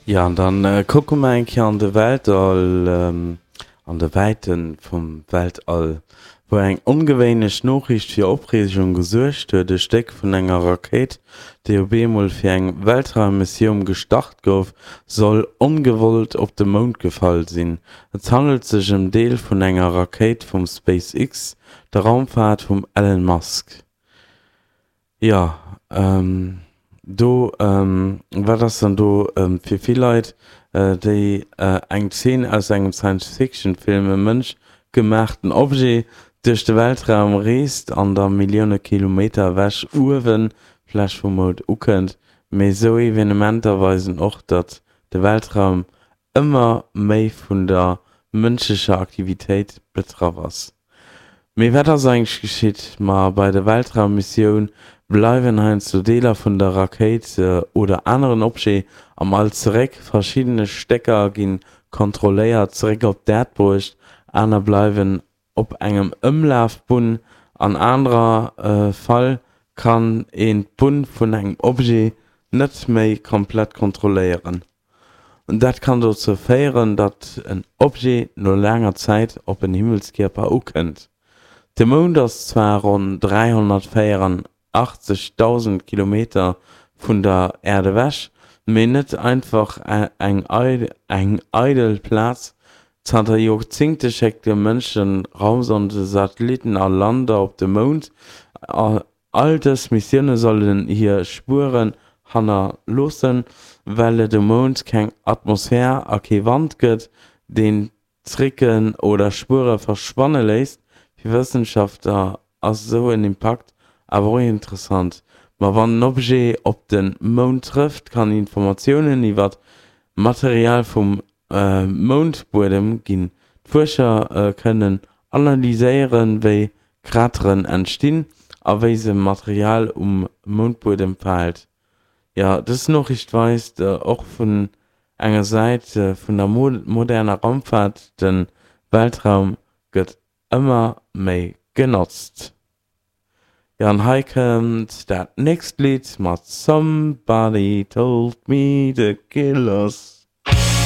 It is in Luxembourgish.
Jo, an dann kucke mer eng Kéier an de Weltall, an de Wäite vum Weltall, wou eng ongewéinlech Noriicht fir Opreegung gesuergt huet, E Stéck vun enger Rakéit, déi op eemol fir eng Weltraummissioum gestart gouf, soll ongewollt op de Mound gefall sinn. Et handelt sech ëm Deel vun enger Rakéit vum SpaceX, der Raumfaart vum Elon Musk. Jo, do, wat ass dann do fir vill Leit, déi eng Zeen aus engem Science-Fiction-Film, e Mënsch gemaachten Objet duerch de Weltraum reest an da Millioune Kilometer ewech uewe vläch vum Mound ukënnt. Mee esou Evenementer weisen och, datt de Weltraum ëmmer méi vun der mënschlecher Aktivitéit betraff ass. Mee wat ass eigentlech geschitt? Ma bei der Weltraummissioun bleiwen heiansdo Deeler vun der Rakéit oder aneren Objet am All zeréck. Verschiddene Stécker gi kontrolléiert zeréck op d'Äerd bruecht, aner bleiwen op engem Ëmlafbunn. An anerer Fall kann een d'Bunn vun engem Objet net méi komplett kontrolléieren. Dat kann dozou féieren, datt en Objet no laanger Zäit op en Himmelskierper ukënnt. De Mound ass zwar ronn 384.000 Kilometer vun der Äerd ewech, mee net einfach eng eidel Plaz. Zanter Joerzéngte schécke Mënschen Raumsonden, Satellitten a Lander op de Mound. All dës Missioune sollen hir Spueren hannerloossen, well et um Mound keng Atmosphär a kee Wand gëtt, deen Tricken oder Spuere verschwanne léisst. Fir Wëssenschaftler ass esou en Impakt awer och interessant. Ma wann en Objet op de Mound trëfft, kann Informatiounen iwwer d'Material vum Moundbuedem ginn. D'Fuerscher kënnen analyséieren, wéi Krateren entstinn a wéi se Material um Moundbuedem verhält. Jo, dës Noriicht weist och vun enger Säit vun der moderner Raumfaart, de Weltraum gëtt ëmmer méi genotzt. Jo, an hei kënnt dat nächst Lidd mat Somebody Told Me The Killers.